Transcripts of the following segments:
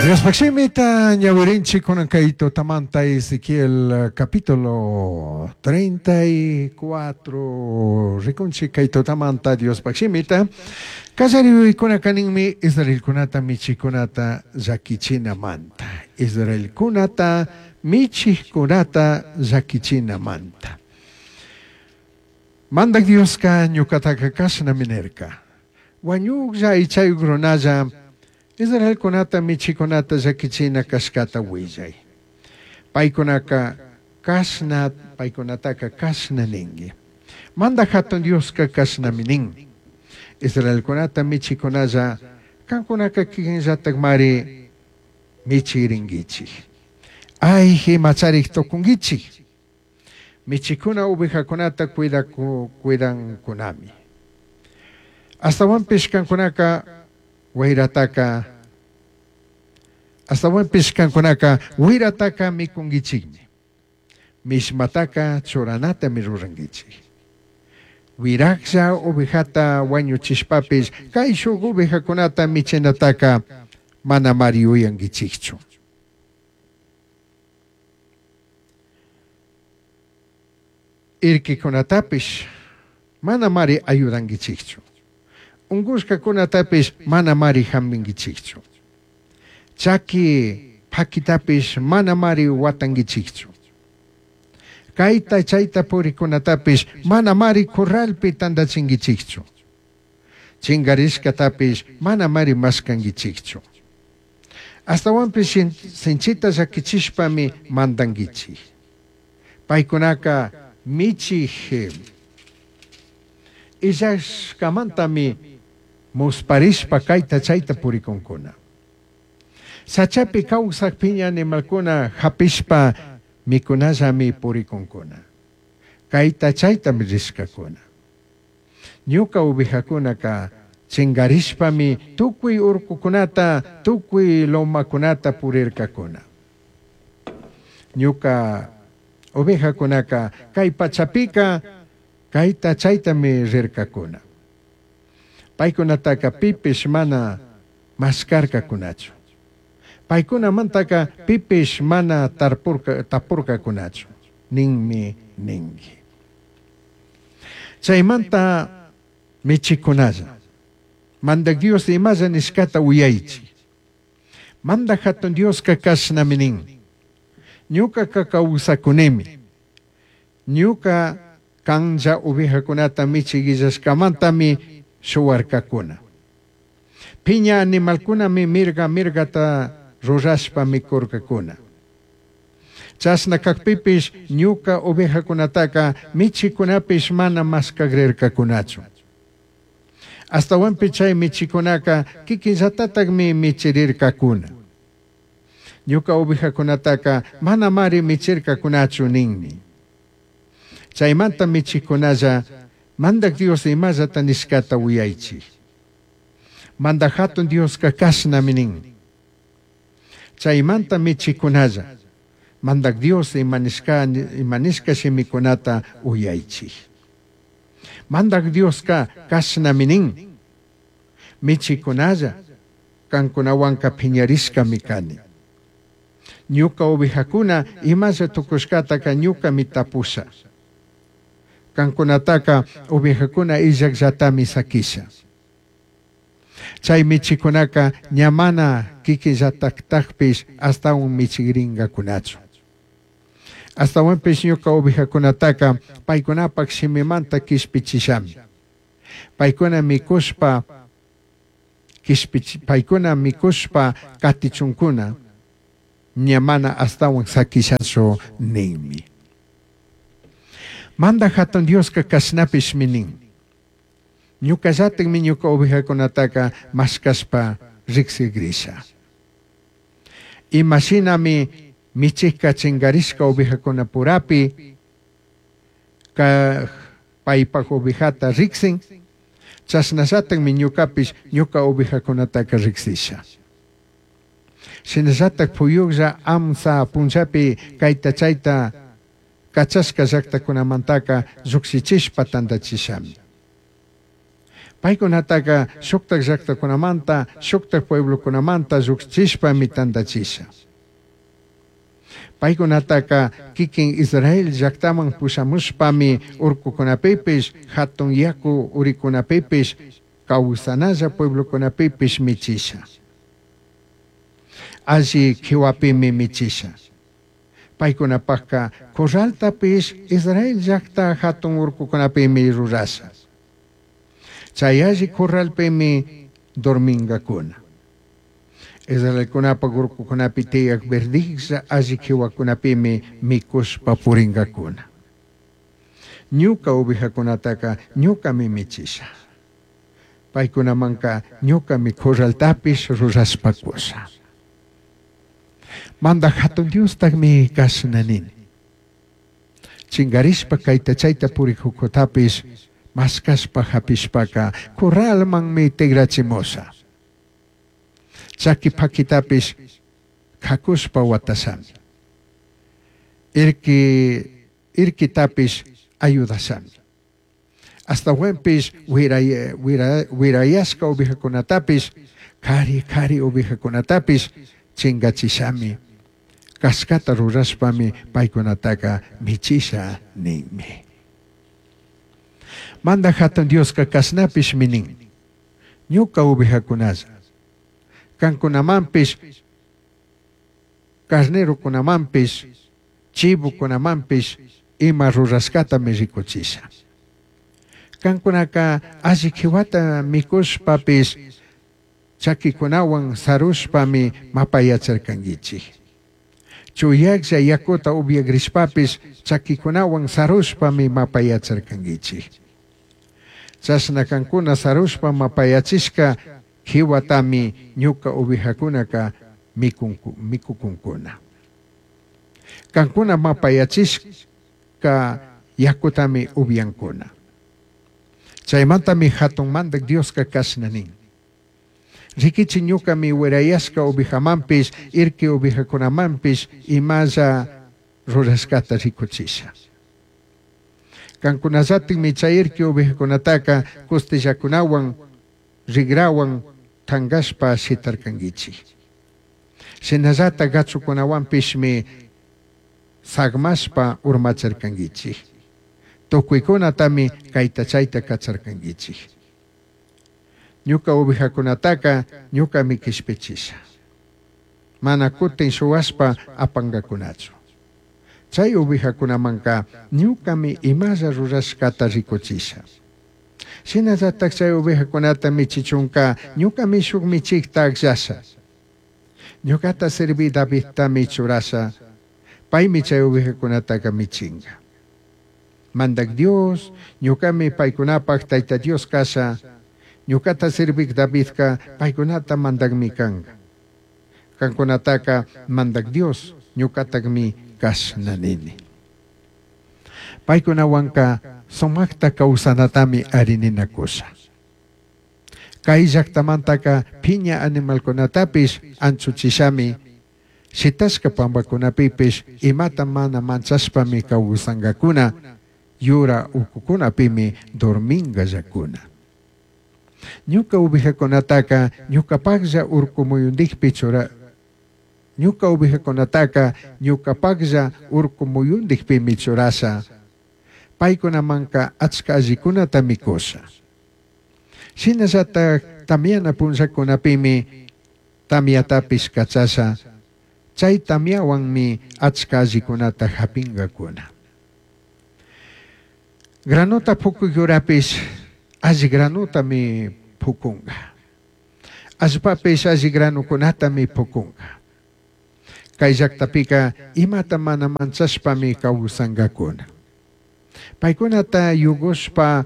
Diospaj shimita ñawirinchik kunan kay tutamanta Ezequiel capítulo 34 rikunchik kay tutamanta Diospaj shimita kallariykunaka ninmi Israelkunata michikunata llakichinamanta Israelkunata michijkunata llakichinamanta Mandak Dioska ñukataka kashnami nirka wañuklla aychayuk runalla Israelkunata michikunata llakichina kashkata willay. Paykunaka kashna paykunataka kashna ninki. Mandak hatun Dioska kashnami nin. Israelkunata michikunalla kankunaka kikinllatakmari michirinkichik. Ay imacharik tukunkichik. Michikuna ovejakunata cuidankunami. Astawanpish kankunaka wayrataka astawanpish kankunaka wirataka mikunkichikmi. Mishmataka churanatami rurankichik. Wiraklla ovejata wañuchishpapish kayshuk ovejakunata michinataka manamari yuyankichikchu. Irkikunatapish manamari ayudankichikchu. Unkushkakunatapish manamari hampinkichikchu. Chaki pakitapish manamari watankichikchu. Kayta chayta purikunatapish manamari corralpi tantachinkichikchu. Chinkarishkatapish manamari mashkankichikchu. Astawanpish sinchita llakichishpami mandankichik. Paykunaka michik illashkamantami musparishpa kayta chayta purikunkuna. Sachapi kawsak piña animalkuna hapishpa mikunallami purikunkuna. Kayta chaytami rishkakuna. Ñuka ovejakunaka chinkarishpami tukuy urkukunata, tukuy lomakunata purirkakuna. Ñuka ovejakunaka kay pachapika kayta chaytami rirkakuna. Paykunataka pipish mana maskarkakunachu. Paykunamantaka pipish mana tapurkakunachu. Ninmi ninki. Chaymanta michikunalla. Mandak Dios imalla nishkata uyaychik. Mandak hatun Dioska kashnami nin. Ñukaka kawsakunimi. Ñuka kanlla ovejakunata michikillashkamantami shuwarkakuna. Piña animalkunami mirga mirgata rurashpa mikurkakuna. Chashna kakpipish ñuka ovejakunataka michikunapish mana mashkakrirkakunachu. Astawanpi chay michikunaka kikinllatatakmi michirirkakuna. Ñuka ovejakunataka manamari michirkakunachu ninmi. Chaymanta michikunalla Mandak Dios imallata nishkata uyaychik. Mandak hatun Dioska kashnami nin. Chaymanta michikunalla Mandak Dios imanishka shimikunata uyaychik. Mandak Dioska kashnami nin. Michikunalla kankunawanka piñarishkami kani. Ñuka ovejakuna imalla tukushkataka ñukami tapusha. Kankunataka ovejakuna illakllatami sakisha. Chay michikunaka ña mana kikinllataktakpish astawan michikrinkakunachu. Astawanpish ñuka ovejakunataka paykunapak shimimanta kishpichishami. Paykuna mikushpa paykuna mikushpa katichunkuna ña mana astawan sakishachu ninmi. Mandak hatun Dioska kashnapishmi nin. Ñukallatakmi ñuka ovejakunataka mashkashpa riksigrisha. Imashinami michikka chinkarishka ovejakunapurapi ka paypak ovejata riksin, chashnallatakmi ñukapish ñuka ovejakunataka riksisha. Shinallatak puyuklla amsa punllapi kayta chayta kachashka llaktakunamantaka llukshichishpa tantachishami. Paicunataca shujtaj llajtacunamanta, shujtaj pueblocunamanta llujchishpami tandachisha. Paicunataca quiquin Israel llajtaman pushamushpami urcucunapipish, jatun yacu uricunapipish, causanalla pueblocunapipish michisha. Alli quihuapimi michisha. Paicunapajca corraltapish Israel llajta jatun urcucunapimi rurasha. Chai alli corralpimi dormingacuna. Israelcunapaj urcucunapi tiyaj verdijlla alli quihuacunapimi micushpa puringacuna. Ñuca ovejacunataca ñucami michisha. Paicunamanca ñucami corraltapish rurashpa cusha. Mandaj Jatun Diostajmi cashna nini. Chingarishpa caita chaita purijucutapish mashcashpa japishpaca corralmanmi tigrachimusha. Chaqui paquitapish cacushpa huatashami. Irqui irquitapish ayudashami. Ashtahuanpish huirayashca ovejacunatapish, cari cari ovejacunatapish chingachishami. Cashcata rurashpami paicunataca michisha ninmi. Mandaj Jatun Diosca cashnapishmi nin. Ñuca ovejacunalla, cancunamanpish, carnerocunamanpish, chivocunamanpish ima rurashcatami ricuchisha. Cancunaca alli quihuata micushpapish chaquicunahuan sarushpami mapayacharcanguichij. Chuyajlla yacuta upiagrishpapish chaquicunahuan sarushpami mapayacharcanguichij. Chashna cancuna sarushpa mapayachishca quihuatami ñuca ovejacunaca micucuncuna. Cancuna mapayachishca yacutami upiancuna. Chaimantami jatun Mandaj Diosca cashna nin. Riquichi ñucami huirayashca ovejamanpish, irqui ovejacunamanpish imalla rurashcata ricuchisha. Cancunallatajmi chay irqui ovejacunataca costillacunahuan, rigrahuan tangashpa shitarcanguichij. Shinallataj gachucunahuanpishmi sagmashpa urmacharcanguichij. Tucuicunatami caita chaita cacharcanguichij. Ñuca ovejacunataca ñucami quishpichisha. Mana cutin shuhuashpa apangacunachu. Chai ovejacunamanca ñucami imalla rurashcata ricuchisha. Shinallataj chay ovejacunata michichunca ñucami shuj michijta agllasha. Ñucata servi Davidtami churasha. Paimi chay ovejacunataca michinga. Mandaj Dios, ñucami paicunapaj Taita Dios casha. Ñucata servij Davidca paicunata mandajmi canga. Cancunataca Mandaj Dios ñucatajmi cashna nini. Paicunahuanca sumajta causanatami ari ninacusha. Cai llajtamantaca piña animalcunatapish anchuchishami, shitashca pambacunapipish imata mana manchashpami causangacuna, yura ucucunapimi dormingallacuna. Ñuca ovejacunataca ñucapajlla urcu muyundijpi chura Ñuca ovejacunataca ñucapajlla urcu muyundijpimi churasha. Paicunamanca achca allicunatami cusha. Shinallataj tamyana punllacunapimi tamyatapish cachasha. Chai tamyahuanmi achca allicunata japingacuna. Granota pucuj yurapish alli granotami pucunga. Allpapish alli granocunatami pucunga. Cai llajtapica imata mana manchashpami causangacuna. Paicunata yugushpa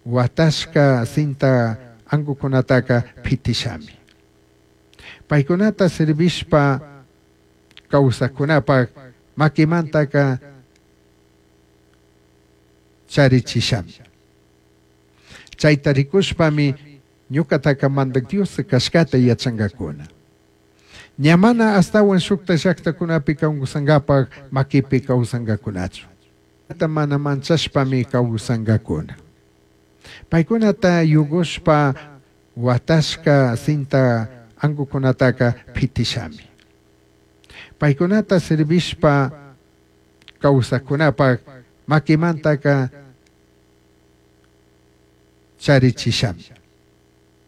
huatashca cinta angucunataca pitishami. Paicunata servishpa causajcunapaj maquimantaca charichishami. Chaita ricushpami ñucataca Mandaj Dios cashcata yachangacuna. Ña mana ashtahuan shujtaj llajtacunapi causangapaj maquipi causangacunachu. Mana manchashpami causangacuna. Paicunata yugushpa huatashca cinta angucunataca pitishami. Paicunata servishpa causajcunapaj maquimantaca charichishami.